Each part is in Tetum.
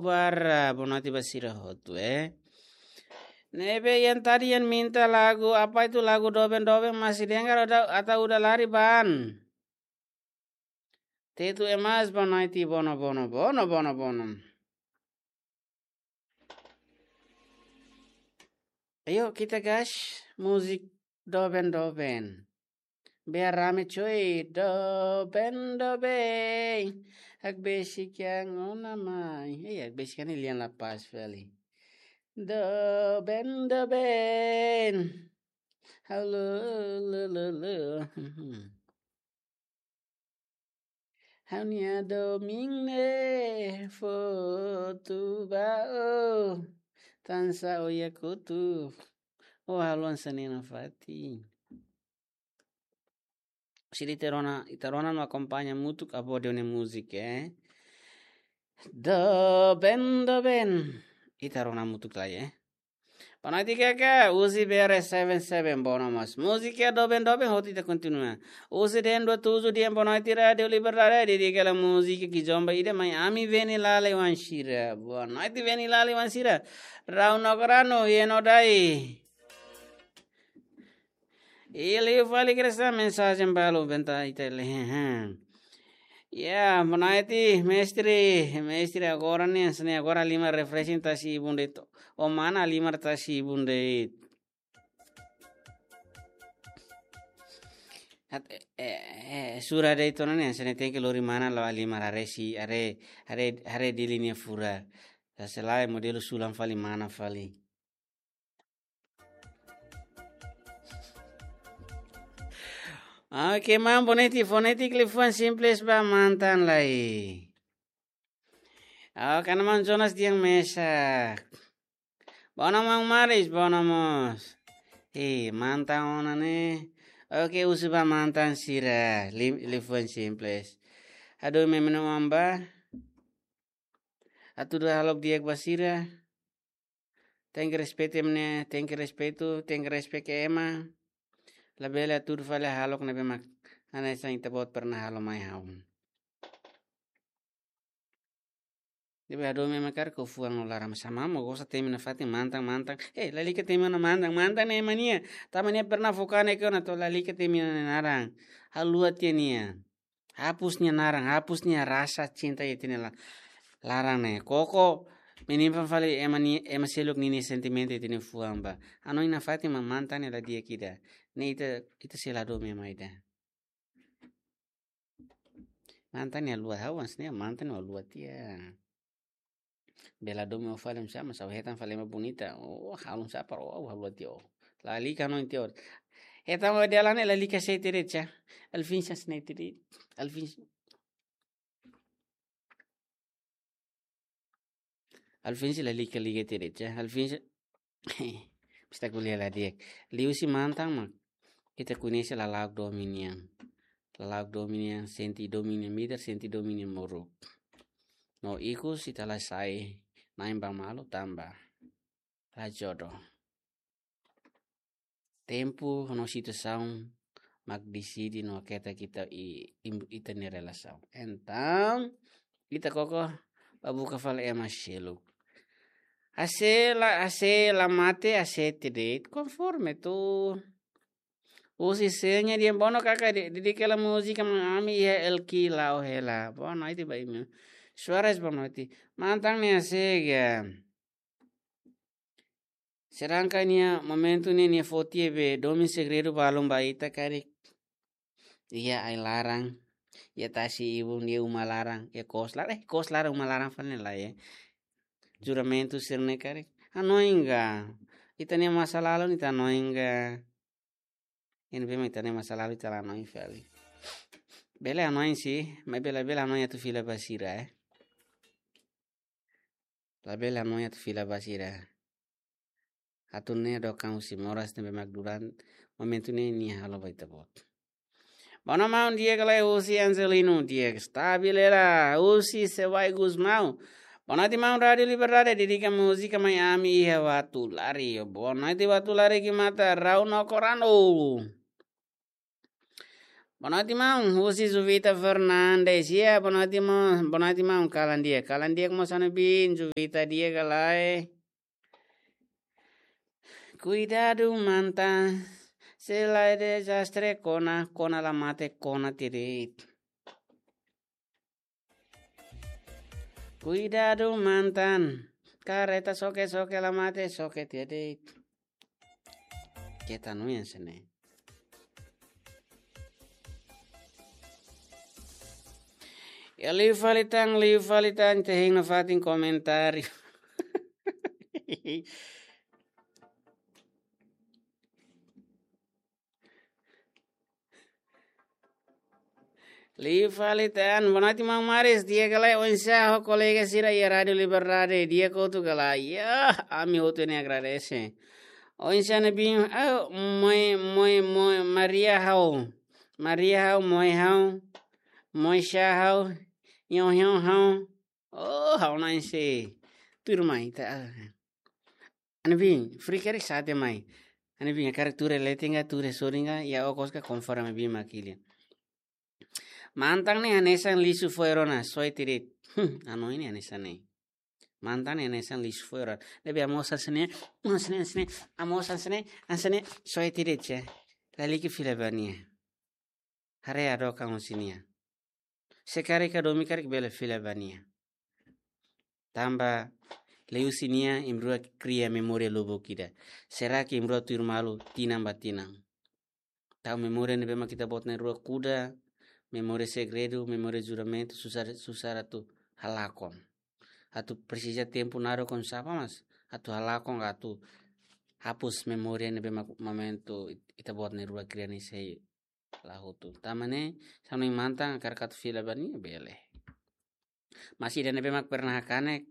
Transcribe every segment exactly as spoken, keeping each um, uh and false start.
Bara, boa noite ba sira hotu, eh. Ne'ebé ian tadi ian minta lagu, apa itu lagu doben-doben masih dengar ada, atau udah lari, Ban? Tetu Emas, boa noite, bono, bono, bono, bono, bono. Ayo, kita gas, musik doben-doben. Biar rame, cuy. Doben-doben. Hakbesik yang ona mai. Eh, hakbesik kan lian La Paz fali. Doben-doben. Halo, lo, lo, lo. Ha'u-nia domin ne'e fotu ba ó, tansa ó iha kotuk. Ó haluha hanesan ne'e nafatin. Sira ita rona, ita rona no akompaña hamutuk, avó de une música, eh. Doben-doben. Ita rona hamutuk lai, eh. Boa noite, Kaka. Uzi B R seven seven, bono mós. Múzika doben-doben, hotu ita kontinua. Uzi D N dua tujuh, dia boa noite, Rádio Liberdade. Dedika hela múzika Kizomba ida mai ami Veni Lale wan sira. Boa noite, Veni Lale wan sira. Rau no Grano, Yeno Dai. Ele fali kresa mensajen balu benta ita le. Ya, boa noite, mestre. Mestre, agora ne'e, sene agora lima refreshing tasi bunde to. O mana lima tasi bunde. Hat, eh, eh, sura de to ne'e, sene tenke lori mana lo lima raresi, are, are, are di liña fura. Sasela modelu sulan fali mana fali. Oke, maun Boneti, Foneti, liafuan simples ba mantan lai. Oke, maun Jonas diang mesa. Bono maun Maris, bono mós. Eh, mantan ona ne'e. Oke, husu ba mantan sira, li-, liafuan simples. Ha'u hadomi ema-nia oan ba. Hatudu hahalok di'ak ba sira. Tenke respeitu ema nia, tenke respeitu, tenke respeitu ema. Labele hatudu fali hahalok ne'ebé mak hanesan ita-boot pernah halo mai ha'u. Ne'ebé hadomi ema karik fuan no laran, sama mak gosta temi nafatin mantan, mantan. Eh, lalika temi ona mantan, mantan ne'e ema nia. Tanba nia pernah fó kanek ona, entaun lalika temi ona nia naran. Haluha tiha nia. Hapus nia naran, hapus nia rasa cinta iha ita-nia la-, laran ne'e. Koko menimpa fali ema ni-, ema seluk ninia sentimentu iha ita-nia fuan ba. Hanoin nafatin mak mantan ne'e la di'ak ida. Ne'e ita, ita sei la hadomi ema ida. Mantan ne'e haluha, ha'u hanesan ne'e, mantan ne'e haluha tiha. Bele hadomi ó fali hanesan, mas ha'u hetan fali ema bonita. Oh, halo hanesan para ó, ha'u haluha tiha ó. Lalika hanoin tiha ó. Hetan ó dehan ne'e lalika sei tiha de'it. Alvin hanesan ne'e tiha de'it. Alvin. Alvin sei lalika-lika tiha de'it. Alvin sei, mesti ko'alia la di'ak. Liuhusi mantan mak ita koñese lala'ok domin nian. Lala'ok domin nian, sente domin nian midar, sente domin nian moruk. No ikus ita la sai na'in ba malu tanba la jodoh. Tempu no situasaun mak deside no haketak ita i-, im-, ita-nia relasaun. Entaun, ita koko ba buka fali ema seluk. Hanesan la, hanesan la mate, hanesan tiha de'it, konforme tu. Husi Senya di'ak, bono Kaka, de-, dedika hela múzika mai ami iha Elki Lau hela. Boa noite ba imi. Suarez, boa noite. Mantan ne'e hanesan. Sedangkan nia momentu ne'e nia foti be domin segredu balun ba ita karik. Iha ai-laran, iha tasi ibun, iha uma laran, iha kos laran, eh, kos laran, uma laran fali ne'e lae. Juramentu sira-ne'e karik. Hanoin ga. Ita-nia masa lalu ne'e ita hanoin ga. Ne'ebé mak ita-nia masa lalu ita la hanoin fali. Bele hanoin sih, maibé labele hanoin atu fila ba sira, eh. Labele hanoin atu fila ba sira. Atu ne'e dokan husi moras ne'ebé mak durante momentu ne'e nia halo ba ita-boot. Bono maun di'ak lai husi Angelino di'ak, stabil hela husi Sewai Gusmão. Boa noite maun Rádio Liberdade, dedika múzika mai ami iha Watulari. Boa noite Watulari, Kimata, Rau no Korano. Boa noite, maun. Husi Juvita Fernandes. Iya, boa noite, maun. Boa noite, maun. Kalan di'ak. Kalan di'ak mós, Ana Bin, Juvita di'ak ka lae. Kuidadu mantan, se la iha dezastre kona, kona la mate, kona tiha de'it. Kuidadu mantan, kareta xoke, xoke la mate, xoke tiha de'it. Keta no yang sene. Ya, liu fali tan, liu fali tan, ita hein nafatin komentáriu. Liu fali tan, boa noite, maun Maris, di'ak ka lae, oinsá ho kolega sira iha Rádiu Liberdade, di'ak hotu ka lae. Ya, ami hotu ne'e agradese. Oinsá Ana Bin, ah, moe, moe, moe, Maria ha'u. Maria ha'u, moe ha'u, moe sá ha'u, nyo nyo ha'u. Oh, ha'u na'in-seen. Tuirmai, ita. Ana Bin, fri kere sate mai. Ana Bin, hakarak tuur iha leten ka, tuur iha sorin ka, iha okos ka, konforme Ana Bin mak ko'alia. Mantan ne'e hanesan lixu fo'er ona, soe tiha de'it. Hmm, hanoin ne'e hanesan ne'e. Mantan ne'e hanesan lixu fo'er ona. Ne'ebé amoos hanesan ne'e, hanesan ne'e, hanesan ne'e, amoos hanesan ne'e, hanesan ne'e, soe tiha de'it, ya. Lalika fila ba nia. Haree hadook an husi nia. Se karik ka domin karik bele fila ba nia. Tanba liuhusi nia imi rua kria memória lubuk ida. Será que imi rua tuir malu tinan ba tinan? Tau memória ne'ebé mak ita-boot na'in-rua kuda, memória segredu, memória juramentu, susar, susar atu halakon. Atu presiza tempu naruk ho sapa mas, atu halakon, atu hapus memória ne'ebé mak momentu it-, ita-boot na'in-rua kria ne'e sei la hotu. Tanba ne'e, se ami-nia mantan hakarak atu fila ba nia, bele. Mas ida ne'ebé mak pernah hakanek,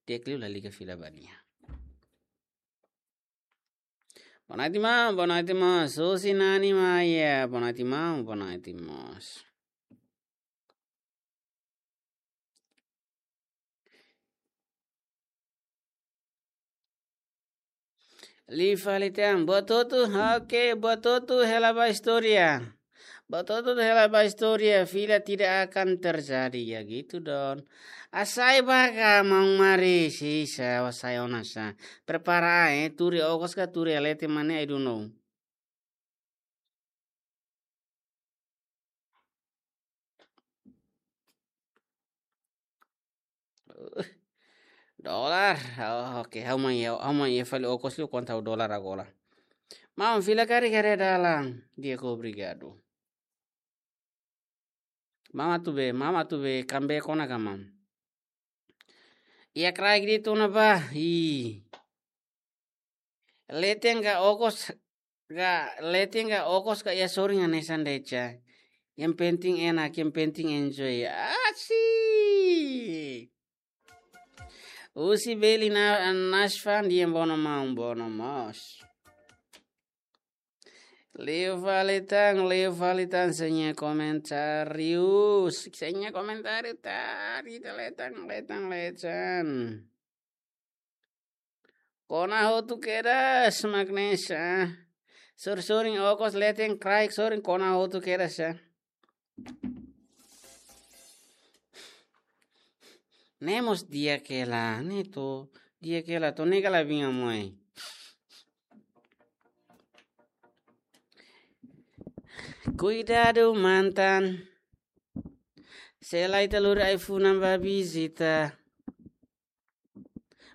di'ak liu lalika fila ba nia. Boa noite, maun. Boa noite, maun. Susi Nani Maia. Boa noite, maun. Boa noite, maun. Liu fali tan, buat hotu, oke, buat hotu hela ba istória. Buat hotu hela ba istória, fila tidak akan terjadi, ya gitu dong. Asai baka maun Maris, sisa, asai ona sa. Prepara, eh, tuur iha okos ka tuur iha leten mak ne'e, I don't know. Dolar. Oh, oke, ha'u mai, ha'u mai fali okos liu konta dolar agora. Maun, fila karik haree dalan. Di'ak, obrigadu. Maun atu be, maun atu be, kambe kona ka maun. Iha kraik de'it ona ba. Ih. Leten ka okos ka, leten ka okos ka iha sorin hanesan de'it sa. Yang penting enak, yang penting enjoy. Asik. Husi Beli na, Nasfan, di'ak, bono maun, bono mós. Liu fali tan, liu fali tan, seña komentáriu. Seña komentáriu tadi, ta leten, leten, leten. Kona hotu kedas, mak ne'e sa. Sorin-sorin okos, leten, kraik, sorin, kona hotu kedas sa. Ne'e mós di'ak hela, ne'e to, di'ak hela, to ne'e kala binga moe. Kuidadu mantan. Se lae ita lori ai-funan ba vizita.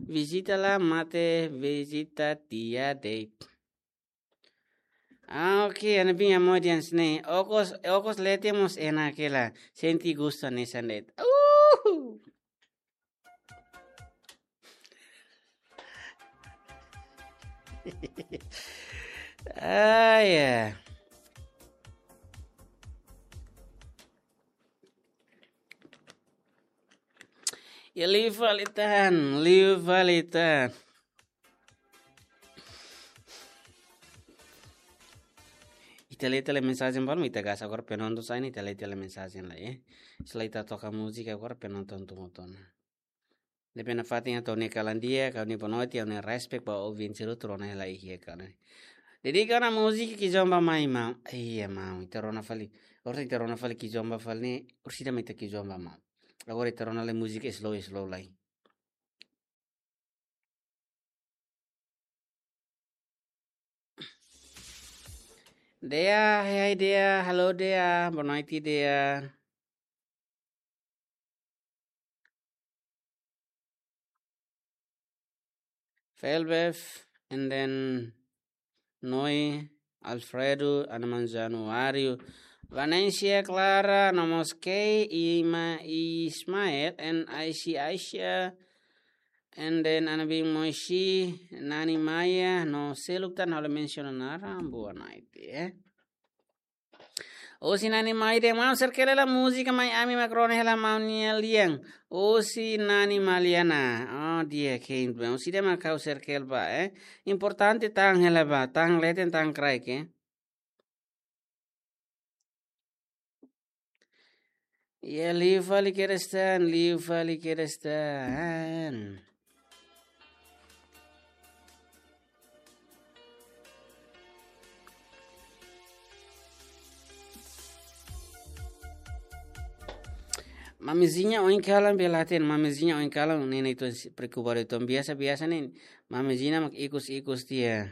Vizita la mate, vizita tiha de'it. Ah, oke, Ana Bin, amo dian sne. Okos, okos leten mós enak hela. Sente gustu hanesan de'it. Uh! Ah, ya. Ya, liu fali tan, liu fali tan. Ita lee tiha lai mensajen balu, ita gasta agora penonton sai, ita lee tiha lai mensajen lai, eh. Se lae ita toka múzika agora penonton tun hotu ona. Ne'ebé nafatin ha'u hato'o nia kalan di'ak, ha'u-nia boa noite, ha'u-nia respect ba ouvinte sira hotu rona hela iha kalan. Dedika ona múzika Kizomba mai, maun. Iya, maun. Ita rona fali. Orsida ita rona fali Kizomba fali ne'e. Orsida mak ita Kizomba, maun. Agora ita rona lai múzika slow, slow lai. Dea, hai, hai, Dea. Halo, Dea. Boa noite, Dea. Felbef, and then Noi, Alfredo, Anaman Januário, Vanencia, Clara, Nomoskei, Ima, Ismael, and Aisy, Aisha, and then Anabim Moishi, Nani Maya, no seluk tan halo mensiona naran, boa noite, eh. Husi Nani Maya dehan, maun, serkel hela múzika mai ami mak rona hela maun nia lian. Husi Nani Maliana. Oh, di'ak, hein, bem. Husi dehan mak ha'u serkel ba, eh. Importante tan hela ba, tan leten tan kraik, eh. Iya, liu fali kedas tan, liu fali kedas tan. Mamezinha oin kalan bele hatene, mamezinha oin kalan ne'e, ne'e ita preokupa ita biasa-biasa ne'e, mamezinha mak ikus-ikus tiha.